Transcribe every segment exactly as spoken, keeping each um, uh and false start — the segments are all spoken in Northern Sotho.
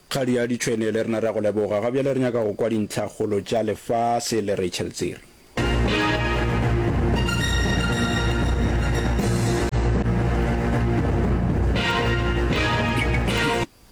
Kgadi ya ditšhwene le rena re a go leboga. Ga bjale re nyaka go kwa dintlhakgolo tša lefase le Rachel Tsiri.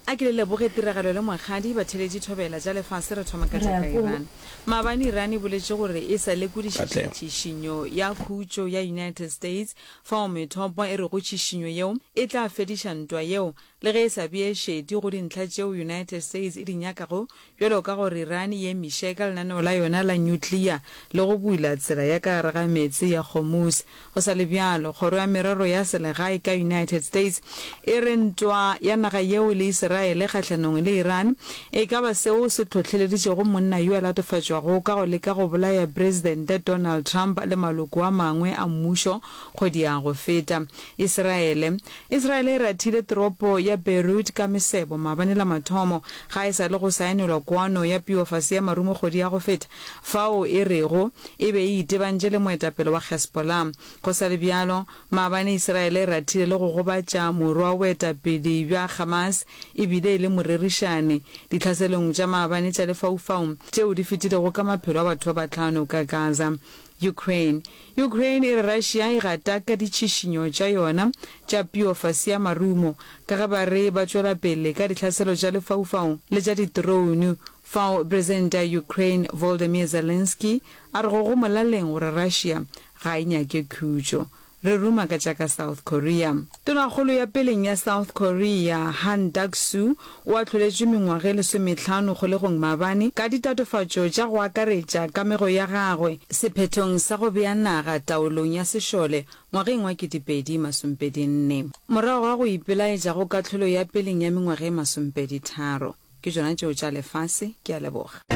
A ke le leboge tiragalo le Mokgadi, batheeletši thobela tša lefase re thoma ka Re tša ya ka ko. Iran. Maabane Iran e boletše gore e sa lekodišiša Katlego. tšhišinyo ya khutšo ya United States fao methopo e rego tšhišinyo yeo e tla fediša ntwa yeo le ge e sa bee šedi go dintlha tšeo United States e di nyakago bjalo ka gore Iran e emiše ka lenaneo la yona la nyuklea le go bula tsela ya ka gare ga meetse ya Hormuz. Go sa le bjalo, Kgoro ya Merero ya Selegae ka United States e re ntwa ya naga yeo le Isiraele kgahlanong le Iran e ka ba seo se hlohleleditšego monna yo a latofatšwago ka go leka go bolaya Presidente Donald Trump le maloko a mangwe a mmušo kgwedi ya go feta. Isiraele Isiraele e rathile toropo ya Beirut ka mesebo maabane la mathomo ga e sa le go saenelwa kwano ya piofase ya marumo kgwedi ya go feta fao e rego e be e itebantše le moetapele wa Hezbollah. Go sa le bjalo, maabane Isiraele e rathile le go gobatša morwa wa boetapele bja Hamas e bile e le morerišani ditlhaselong tša maabane tša lefaufau tšeo di fetilego ka maphelo a batho ba bahlano ka Gaza. Ukraine Ukraine e re Russia e gata ka ditšhišinyo tša yona tša piofase ya marumo ka ge ba re ba tšwela pele ka ditlhaselo tša lefaufau le tša diterounu fao Presidente ya Ukraine Volodymyr Zelensky a rego go molaleng gore Russia ga e nyake khutšo. Re ruma ka tša ka South Korea. Tonakgolo ya peleng ya South Korea, Han Duck-soo, o ahloletšwe mengwaga e lesomehlano kgolegong maabane ka ditatofatšo tša go akaretša kamego ya gagwe sephethong sa go bea naga taolong ya sešole ngwageng wa ketepedi masomepedi nne. Morago ga go ipelaetša go kahlolo ya peleng ya mengwaga e masomepedi tharo. Ke tšona tšeo tša lefase. Ke a leboga.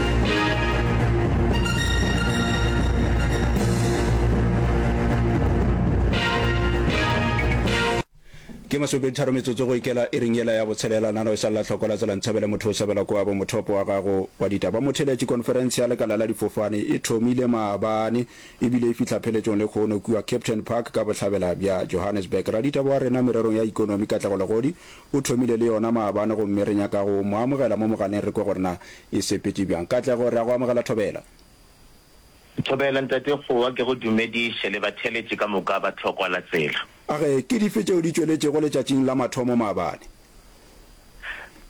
Ke masomepeditharo metsotso go ikela iring yela ya botshelela. Nano e sa lla hloko la tsela Nthabele motho o sebela kwabo mothopo wa gago wa ditaba. Motheeletši Konferense ya lekala la difofane e thomile maabane ebile e fihla pheletšong lehono kua Kempton Park ka bohlabela bja Johannesburg. Raditaba wa rena mererong ya ikonomi Katlego Legodi o thomile le yona maabane gomme re nyaka go mo amogela mo mogaleng re kwe gore na e sepetše bjang. Katlego, re a go amogela Thobela. Thobela, Ntate Kgowa, ke go dumediše le batheeletši ka moka ba Tlhokwa la Tsela. A re, Ke dife tšeo di tšweletšego letšatšing la mathomo maabane?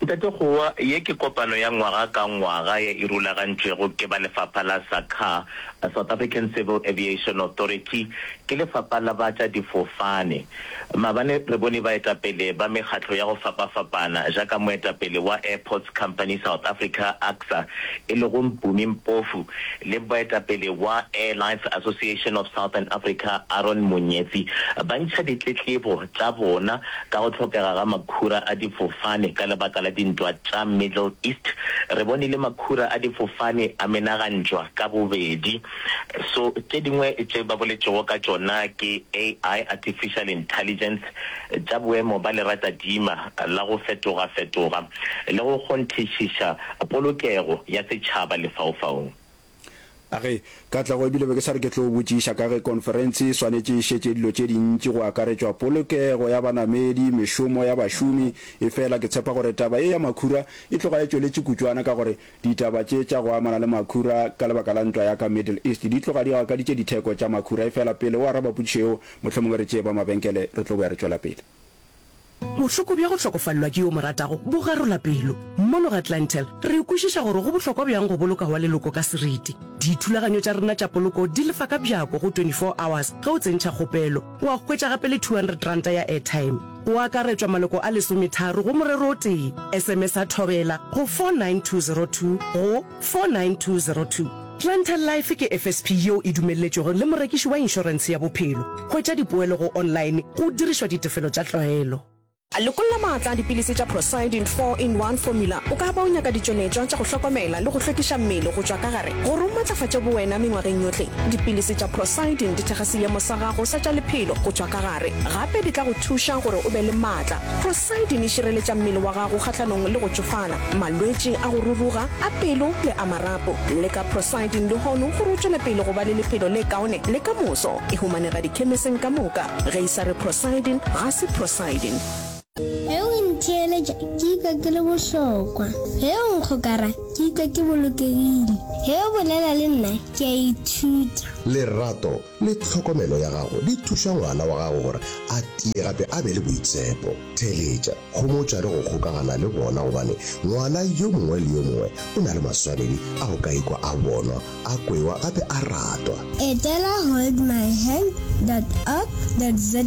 Ntate Kgowa, ye ke kopano ya ngwaga ka ngwaga ye e rulagantšwego ke ba lefapha la SACAA, South African Civil Aviation Authority, ke lefapha la ba tša difofane. Maabane re bone baetapele ba mekgatlo ya go fapafapana jaaka moetapele wa Airports Company South Africa, ACSA, e lego Mpumi Mpofu le moetapele wa Airlines Association of Southern Africa, Aaron Monyetsi, ba ntšha ditletlebo tša bona ka go hlokega ga makhura a difofane ka lebaka la dintwa tša Middle East. Re bone le makhura a difofane a menagantšwa ka bobedi. So tše dingwe tše ba boletšego ka tšona ke A I, Artificial Intelligence, tša boemo ba leratadima la go fetogafetoga le go kgonthišiša polokego ya setšhaba lefaufaung. A re, Katlego, ebile be ke sa re ke tlo botšiša ka ge konferense e swanetše e šetše dilo tše dintši go akaretšwa polokego ya banamedi, mešomo ya bašomi, efela ke tshepa gore taba ye ya makhura e tloga e tšweletše kutšwana ka gore ditaba tše tša go amana le makhura ka lebaka la ntwa ya ka Middle East di tloga di gakaditše ditheko tša makhura. Efela pele o araba potšišo yeo, mohlomongwe re tšee ba mabenkele re tlo boya re tšwela pele. Bohloko bja go hlokofalelwa ke yo o mo ratago bo garola pelo. Mono ga Clientele, re kwešiša gore go bohlokwa bjang go boloka wa leloko ka seriti. Dithulaganyo tša rena tša poloko di lefa ka bjako go twenty four hours ge o tsentšha kgopelo. Wa hwetša gape le two hundred ranta ya airtime. Go akaretšwa maloko a lesometharo go morero o tee. S M S-a Thobela go four nine two zero two go four nine two zero two. Clientele Life ke F S P yeo e dumelletšwego le morekiši wa inšorentshe ya bophelo. Hwetša dipoelo go online go dirišwa ditefelo tša tlwaelo. Lekolla maatla a dipilisi tša Procyldin four in one Formula. O ka ba o nyaka ditšweletšwa tša go hlokomela le go hlwekiša mmele go tšwa ka gare gore o matlafatše bowena mengwageng yohle. Dipilisi tša Procyldin di thekga seemo sa gago sa tša lephelo go tšwa ka gare. Gape di tla go thuša gore o be le maatla. Procyldin e šireletša mmele wa gago kgahlanong le go tšofala, malwetši a go ruruga, a pelo le a marapo. Leka Procyldin lehono gore o tšwele pele go ba le lephelo le kaone le ka moso. E humanega dikhemiseng ka moka. Ge e sa re Procyldin, ga se Procyldin. Ge o ntheeletša. ntheeletša, ke ikwa ke le bohlokwa. Ge o nkgokara, ke ikwa ke bolokegile. Ge o bolela le nna, ke a ithuta. Lerato le tlhokomelo ya gago di thuša ngwana wa gago gore a tie gape a be le boitshepo. Theeletša, homotša le go kgokagana le bona gobane ngwana yo mongwe le yo mongwe o na le maswanedi a go ka ikwa a bonwa, a kwewa gape a ratwa. Etela holdmyhand dot org dot za.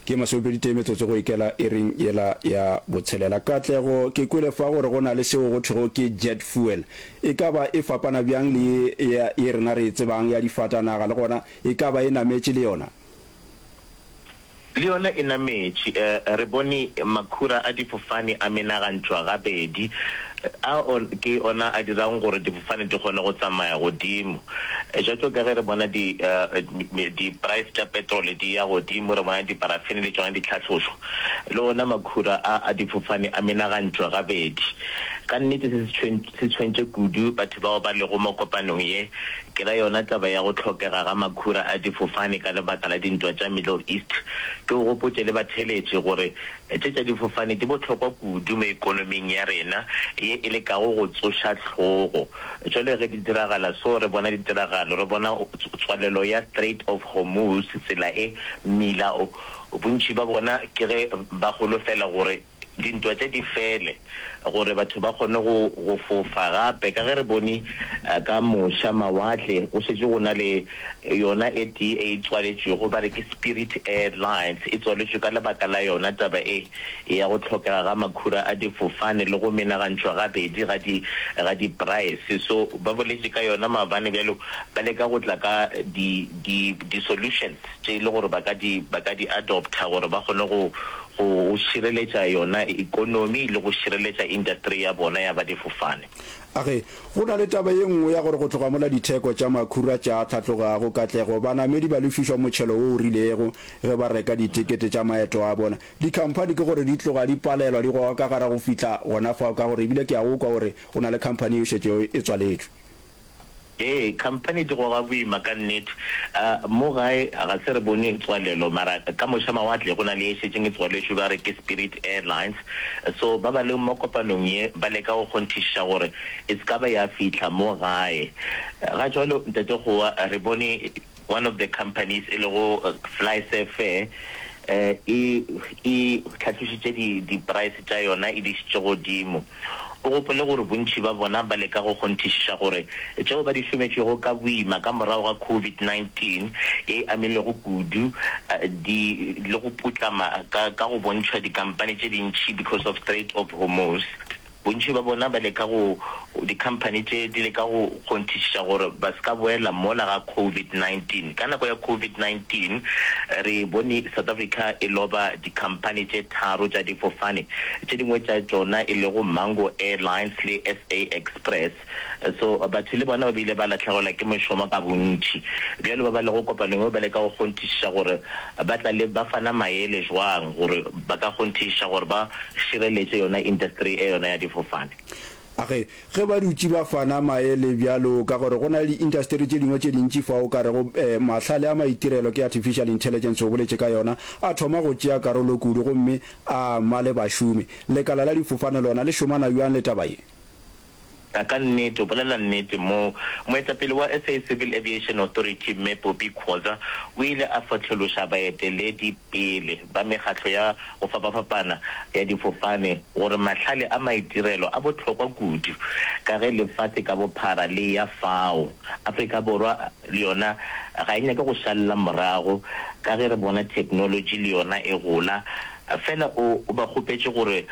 Ke masomepedi tee metsotso go ikela iring yela ya botshelela. Katlego, ke kwele fa gore go na le seo go thwego ke jet fuel. E ka ba e fapana bjang le ye ya ye rena re e tsebang ya difatanaga le gona e ka ba e nametše le yona? Le yona e nametše. Re bone makhura a difofane a menagantšwa gabedi. A ke ona a dirago gore difofane di kgone go tsamaya godimo. Bjalo ka ge re bona di, di-price tša petrole di ya godimo, re bona diparafene le tšona di hlahlošwa. Le ona makhura a a difofane a menagantšwa gabedi. Ka nnete se se tshwentše kudu batho bao ba lego mo kopanong ye. Ke ra yona taba ya go hlokega ga makhura a difofane ka lebaka la dintwa tša Middle East. Ke o gopotše le batheeletši gore tše tša difofane di bohlokwa kudu mo ekonoming ya rena ye e lekago go tsoša hlogo. Jwale ge di diragala so, re bona ditiragalo, re bona tswalelo ya Strait of Hormuz, tsela e, mmila o. Bontši ba bona ke ge ba holofela gore dintwa tše di fele gore batho ba kgone go go fofa gape. Ka ge re bone ka moša mawatle go šetše go na le yona e tee e tswaletšwego ba re ke Spirit Airlines, e tswaletšwe ka lebaka la yona taba e ya go hlokega ga makhura a difofane le go menagantšhwa gabedi ga di ga di price. So ba boletše ka yona maabane bjalo ba leka go tla ka di di di solutions tše e le gore ba ka di ba ka di adopta gore ba kgone go go šireletša yona ekonomi le go šireletša industry ya bona ya ba difofane. A re, Go na le taba ye nngwe ya gore go tloga mola ditheko tša makhura tša hlatlogago katlego, banamedi ba lefišwa motšhelo wo o rilego ge ba reka ditekete tša maeto a bona. Dikhamphani ke gore di tloga di palelwa, di goga ka gare go fihla gona fao ka gore ebile ke a go kwa gore go na le khamphani ye e šetšego e tswaletšwe. Ee, khamphani di goga boima ka nnete. Mo gae ga se re bone tswalelo, mara ka moša mawatle go na le ye šetšeng e tswaletšwe ba re ke Spirit Airlines. So ba ba leng mo kopanong ye ba leka go kgonthišiša gore e se ka ba ya fihla mo gae. Ga jwalo Ntate Kgowa re bone one of the companies e lego FlySafair e e hlatlošitše di di price tša yona e di išitše godimo. O gopole gore bontši ba bona ba leka go kgonthišiša gore tšeo ba di šometšego ka boima ka morago ga covid nineteen ye e amilego kudu di le go putlama ka ka go bontšhwa dikampani tše dintši because of Strait of Hormuz. Bontši ba bona ba leka go, dikhamphani tše di leka go kgonthišiša gore ba se ka boela mola ga covid nineteen Ka nako ya covid nineteen re bone South Africa e loba dikhamphani tše tharo tša difofane, tše dingwe tša tšona e lego Mango Airlines le S A Express. So batho le bona ba bile ba lahlegelwa ke mešomo ka bontši. Bjalo ba ba lego kopanong yeo ba leka go kgonthišiša gore ba tla le ba fana maele jwang gore ba ka kgonthišiša gore ba šireletše yona industry e yona ya difofane. A re, Ge ba dutše ba fana maele bjalo ka gore go na le diintasteri tše dingwe tše dintši fao o ka rego mahlale a maitirelo ke artificial intelligence o boletše ka yona, a thoma go tšea karolo kudu gomme a ama le bašomi. Lekala la difofane lona le šomana bjang le taba ye? A ka nnete, o bolela nnete mo. Moetapele wa S A Civil Aviation Authority, Mme Poppy Khoza, o ile a fohlološa baeteledi pele ba mekgatlo ya go fapafapana ya difofane gore mahlale a maitirelo a bohlokwa kudu ka ge lefase ka bophara le eya fao. Afrika Borwa le yona ga e nyake go šalela morago ka ge re bona theknolotši le yona e gola. Fela o ba kgopetše gore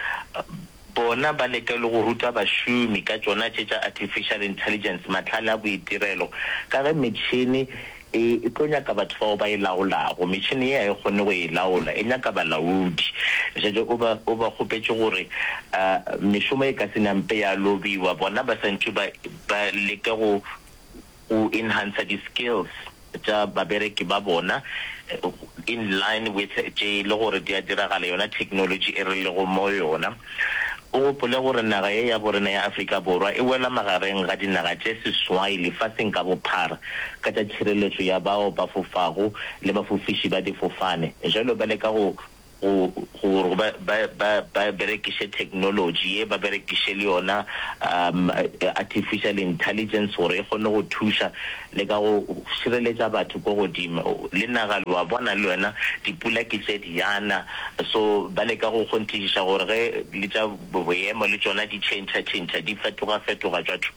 Bona ba leka le go ruta bašomi ka tšona tše tša artificial intelligence, mahlale a boitirelo, ka ge metšhene e e tlo nyaka batho bao ba e laolago. Metšhene ye ga e kgone go e laola, e nyaka balaodi. Bjale o ba o ba kgopetše gore mešomo e ka se nampe ya lobiwa, bona ba santše ba ba leke go go enhancer di skills tša babereki ba bona in line with tše e le gore di a diragala yona technology e re lego mo yona. O gopole gore naga ye ya borena ya Afrika Borwa e wela magareng ga dinaga tše seswai lefaseng ka bophara ka tša tšhireletšo ya bao ba fofago le bafofiši ba difofane. Jalo ba leka go go gore ba ba ba ba berekiše technology ye, ba berekiše le yona um artificial intelligence gore e kgone go thuša le ka go šireletša batho ko godimo. Le naga le wa bona le yona dipula ke tše di yana, so ba leka go kgonthišiša gore ge le tša boemo le tšona di tšhentšha-tšhentšha, di fetoga-fetoga tšwa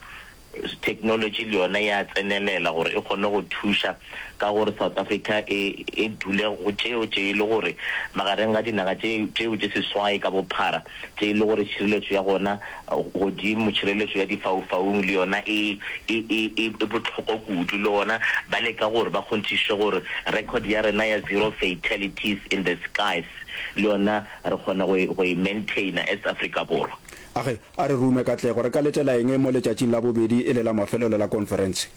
technology le yona ya tsenelela gore e kgone go thuša ka gore South Africa e e dule go tšeo tše e le gore magareng ga dinaga tše tšeo tše seswai ka bophara tše e le gore tšhireletšo ya gona godimo tšhireletšo ya difaufaung le yona e e e e bohlokwa kudu le gona ba leka gore ba kgonthiše gore record ya rena ya zero fatalities in the skies le yona re kgona go e go e maintainer as Afrika Borwa. A ge, a re rume katlego. Re ka letela eng mo letšatšing la bobedi e le la mafelelo la konferense?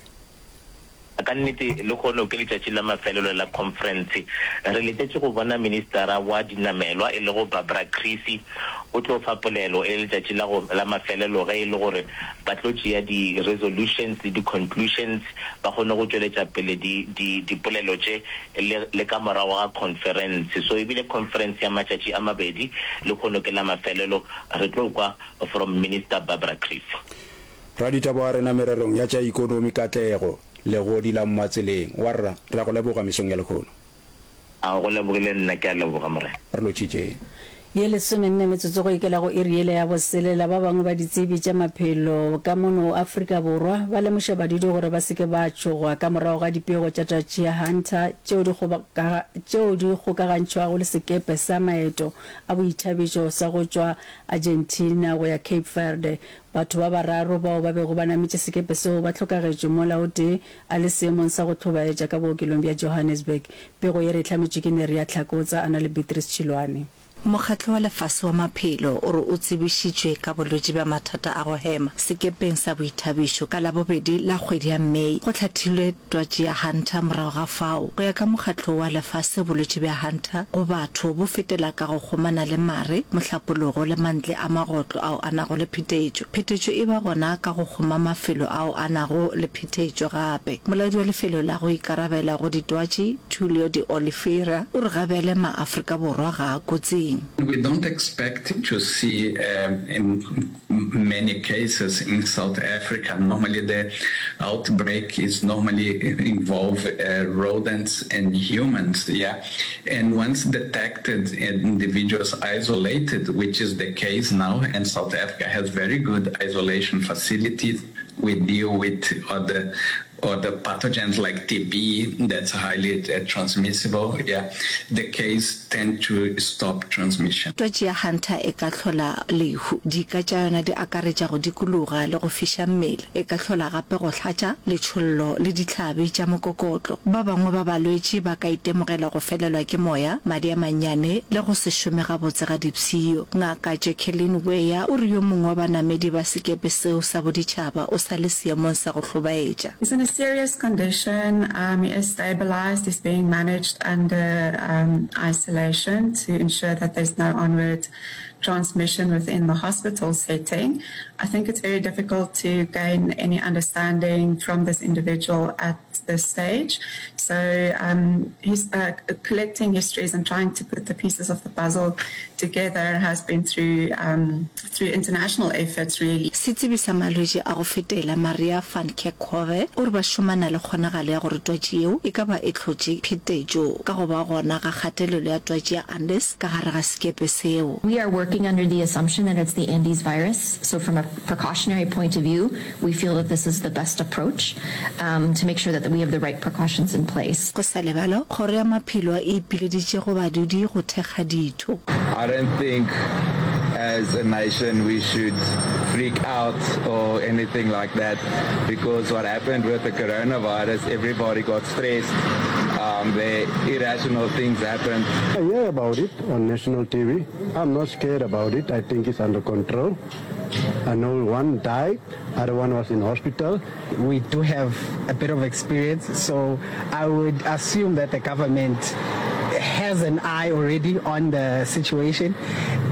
Ka nnete, lehono ke letšatši la mafelelo la khonferense. Re letetše go bona Ministara wa Dinamelwa e lego Barbara Creecy o tlo fa polelo e le letšatši la go la mafelelo ge e le gore ba tlo tšea di-resolutions le di-conclusions ba kgone go tšweletša pele di, di, dipolelo tše le, le ka morago ga khonferense. So e bile khonferense ya matšatši a mabedi, lehono ke la mafelelo. Re tlo kwa from Minister Barbara Creecy. Raditaba wa rena mererong ya tša ikonomi Katlego Legodi la Mmatseleng. Warra, re a go leboga mesong ya lehono. A go lebogile nna, ke a leboga Morena. Re lotšitšeng. Ye lesomenne metsotso go ikela go iri yela ya boselela, ba bangwe ba ditsebi tša maphelo ka mono Afrika Borwa ba lemoša badudi gore ba se ke ba tšhoga ka morago ga dipego tša twatši ya Hunter tšeo di tšeo di kgokagantšhwago le sekepe sa maeto a boithabišo sa go tšwa Argentina go ya Cape Verde. Batho ba bararo bao ba bego ba nametše sekepe seo ba hlokagetšwe mola o tee a le seemong sa go hlobaetša ka bookelong bja Johannesburg. Pego ye re e hlametšwe ke Neria Hlakotsa a na le Beatrice Tšhilwane. Mokgatlo wa Lefase wa Maphelo o re o tsebišitšwe ka bolwetši bja mathata a go hema sekepeng sa boithabišo ka Labobedi la kgwedi ya May. Go hlathilwe twatši ya Hunter morago ga fao. Go ya ka Mokgatlo wa Lefase bolwetši bja Hunter go batho bo fetela ka go kgomana le mare, mohlapologo le mantle a magotlo ao a nago le phetetšo. Phetetšo e ba gona ka go kgoma mafelo ao a nago le phetetšo gape. Molaodi wa lefelo la go ikarabela go ditwatši, Tulio de Oliveira, o re gabjale maAfrika Borwa ga a kotsing. We don't expect to see in many cases in South Africa. Normally the outbreak is normally involve rodents and humans, yeah. And once detected and individuals isolated, which is the case now, and South Africa has very good isolation facilities, we deal with other other pathogens like T B that's highly transmissible, yeah, the case tend to stop transmission. Twatši ya Hunter e ka hlola lehu. Dika tša yona di akaretša go dikologa le go fiša mmele. E ka hlola gape go hlatša, letšhollo le dihlabi tša mokokotlo. Ba bangwe ba balwetši ba ka itemogela go felelwa ke moya, madi a mannyane le go se šome gabotse ga dipshio. Ngaka Jacqueline Weah o re yo mongwe wa banamedi ba sekepe seo sa boditšhaba o sa le seemong sa go hlobaetša. He's in a serious condition, um, he is stabilized, he's being managed under, um, isolation to ensure that there's no onward transmission within the hospital setting. I think it's very difficult to gain any understanding from this individual at this stage. So, um, he's, uh, collecting histories and trying to put the pieces of the puzzle together has been through, um, through international efforts really. Setsebi sa malwetši a go fetela, Maria van Kerkhove, o re ba šomana le kgonagalo ya gore twatši yeo e ka ba e hlotše phetetšo ka go ba gona ga kgatelelo ya twatši ya Andes ka gare ga sekepe seo. We are working under the assumption that it's the Andes virus, so from a precautionary point of view, we feel that this is the best approach, um, to make sure that we have the right precautions in place. Go sa le bjalo, Kgoro ya Maphelo e ipileditše go badudi go thekga ditho. I don't think as a nation we should freak out or anything like that, because what happened with the coronavirus, everybody got stressed, um, the irrational things happened. I hear about it on national T V. I'm not scared about it. I think it's under control. I know one died, other one was in hospital. We do have a bit of experience, so I would assume that the government has an eye already on the situation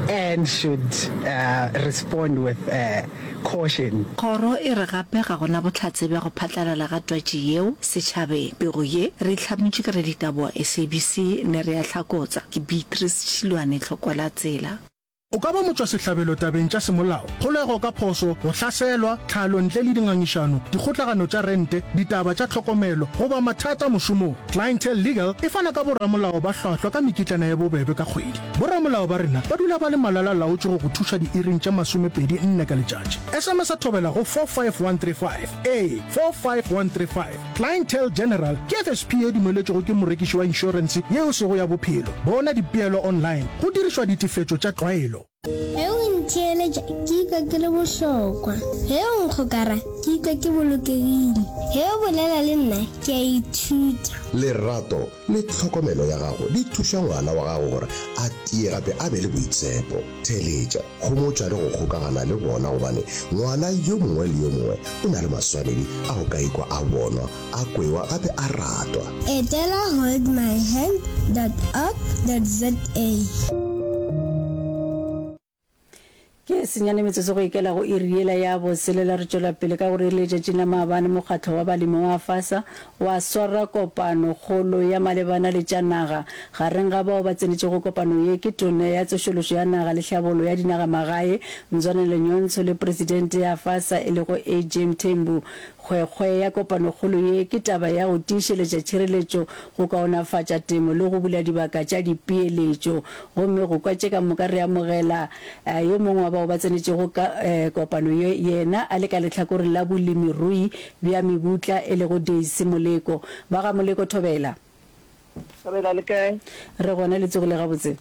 and and should uh, respond with uh, caution. Kgoro e re gape ga go na bohlatse bja go phatlalala ga twatši yeo setšhabeng. Pego ye re e hlametšwe ke raditaba wa S A B C Neria Hlakotsa. Ke Beatrice Tšhilwane Tlhokwalatsela. O ka ba motšwasehlabelo tabeng tša semolao, kgolego ka phošo, go hlaselwa, tlhalo ntle le dingangišano, dikgotlagano tša rente, ditaba tša tlhokomelo, goba mathata mošomong. Clientele Legal e fana ka boramolao ba hlwahlwa ka mekitlana ye bobebe ka kgwedi. Boramolao ba rena ba dula ba le malala-laotšwe go go thuša diiring tše masomepedi nne ka letšatši. S M S Thobela go four five one three five. Ee, four five one three five. Clientele General ke F S P ye dumeletšwego ke morekiši wa inšorense yeo e sego ya bophelo. Bona dipeelo online go dirišwa ditefetšo tša tlwaelo. Ge o ntheeletša ke ikwa ke le bohlokwa. Ge o nkgokara ke ikwa ke bolokegile. Ge o bolela le nna ke a ithuta. Lerato le tlhokomelo ya gago di thuša ngwana wa gago gore a tie gape a be le boitshepo. Theeletša, homotša le go kgokagana le bona gobane ngwana yo mongwe le yo mongwe o na le maswanedi a go ka ikwa a bonwa, a kwewa gape a ratwa. Etela hold my hand dot org dot za. Ke senyane metsotso go ikela go iri yela ya botshelela. Re tšwela pele ka gore letšatšing la maabane mokgatlo wa balemi wa AFASA wa swara kopano kgolo ya malebana le tša naga. Gareng ga bao ba tsenetšego kopano ye ke Tona ya Tsošološo ya Naga le Tlhabollo ya Dinagamagae Mzwanele Nyhontso le Presidente ya AFASA e lego A J Mthembu. Kgwekgwe ya kopanokgolo ye ke taba ya go tiišeletša tšhireletšo, go kaonafatša temo le go bula dibaka tša dipeeletšo. Gomme go kwa tše ka moka re amogela yo mongwe wa bao ba tsenetšego kopano ye, yena a le ka lehlakoreng la bolemirui bja mebutla e lego Daisy Moleko. Ba ga Moleko, thobela. Thobela, le kae? Re gona, le tsogile gabotse?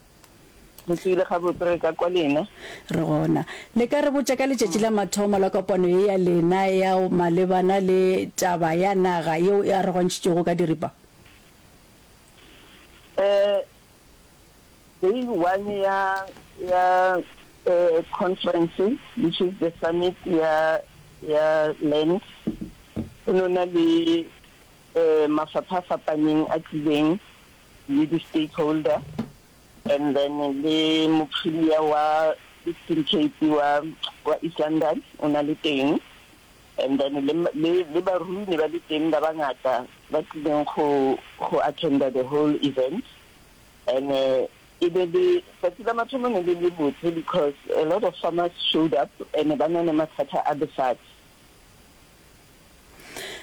Re tsogile gabotse, re ka kwa lena. Re gona. Le ka re botša ka letšatši la mathomo la kopano ye ya lena ya malebana le taba ya naga yeo e arogantšhitšwego ka diripa? Eh, day one ya ya eh, conference, which is the summit ya ya land, go no na le eh, mafapha a fapaneng a tlileng le di-stakeholder and then le mopremier wa Eastern Cape wa wa East London o na le teng and then le le le barui ne ba le teng ba bangata ba tlileng go go attenda the whole event. And uh, e be le tsatsi la mathomo ne le le botse because a lot of farmers showed up and ba na le mathata a lefatshe.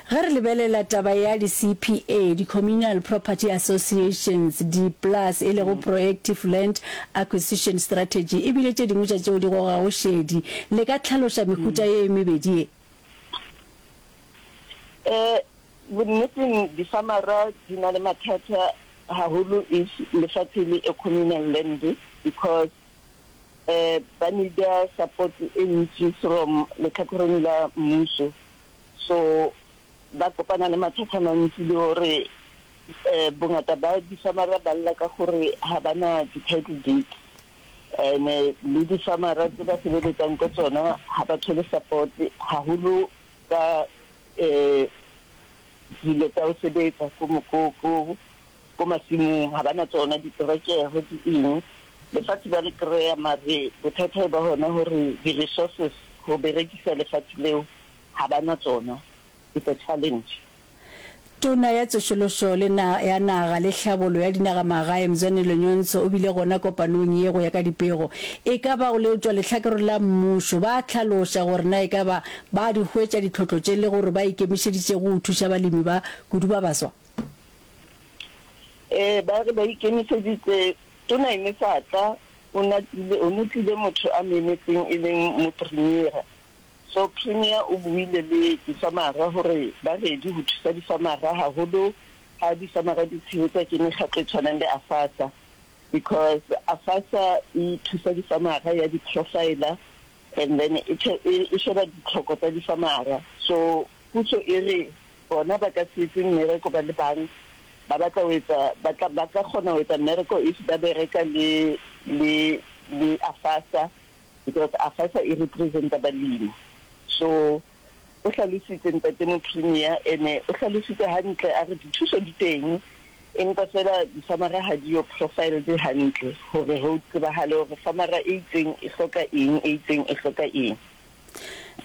Ge re lebelela taba ya di-C P A, di-Communal Property Associations, di-PLAS e lego Proactive Land Acquisition Strategy, e bile tše dingwe tša tšeo di gogago šedi. Le ka hlaloša mehuta ye e mebedi ye? Eh, bonneteng difarmera di na le mathata haholo if lefatshe le a communal land because eh ba need-a support e ntši from letlhakoreng la mmuso, so ba kopana le mathata a mantsi le gore eh bongata ba difarmera ba lla ka gore ha ba na di-title deed and le difarmera tse ba sebeletsang ko tsona ha ba thole support haholo ka eh dilo tsa go sebetsa ko ko ko ko masimong. Ha ba na tsona diterekere di eng. Lefatshe ba le kry-a, mare bothata e ba hona hore di-resources go berekisa lefatshe leo ha ba na tsona. It's a challenge. Tona ya Tsošološo le na ya Naga le Tlhabollo ya Dinagamagae Mzwanele Nyhontso o bile gona kopanong ye go ya ka dipego. E ka ba go le tšwa lehlakoreng la mmušo ba hlaloša gore na e ka ba ba di hwetša ditlhotlo tše le gore ba ikemišeditše go thuša balemi ba kudu ba baswa? Eh ba re ba ikemiseditse. Tona e ne sa tla, o na tlile o no tlile motho a mo emetseng e leng mopremiera. So premier o buile le difarmera gore ba ready go thusa difarmera haholo ha difarmera di tshehetsa ke mekgatlo e tshwanang le AFASA because AFASA e thusa difarmera ya di-profiler and then e e sheba ditlhoko tsa difarmera. So puso e re bona ba ka se etse mmereko ba le bang, ba batla ho etsa ba tla ba ka kgona ho etsa mmereko if ba bereka le le le AFASA because AFASA e representa balemi. So o hlalositse ntate mopremier ene o hlalositse hantle, a re dithuso di teng. Empa fela difamara ha di yo profiled hantle hore ho tsebahale hore famara e itseng e hloka eng, e itseng e hloka eng.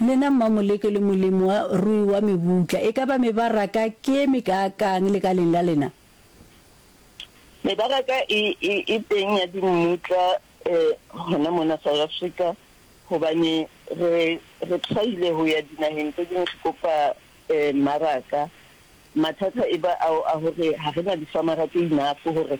Lena Mmamoleke le molemi wa rui wa mebutla, e ka ba mebaraka ke e mekaakang lekaleng la lena? Mebaraka e, e, e teng ya dimmutla eh, hona mona South Africa hobane re, re try-ile ho ya dinaheng tse ding re kopa eh, mmaraka. Mathata e ba ao a hore ha re na difamara tse enough hore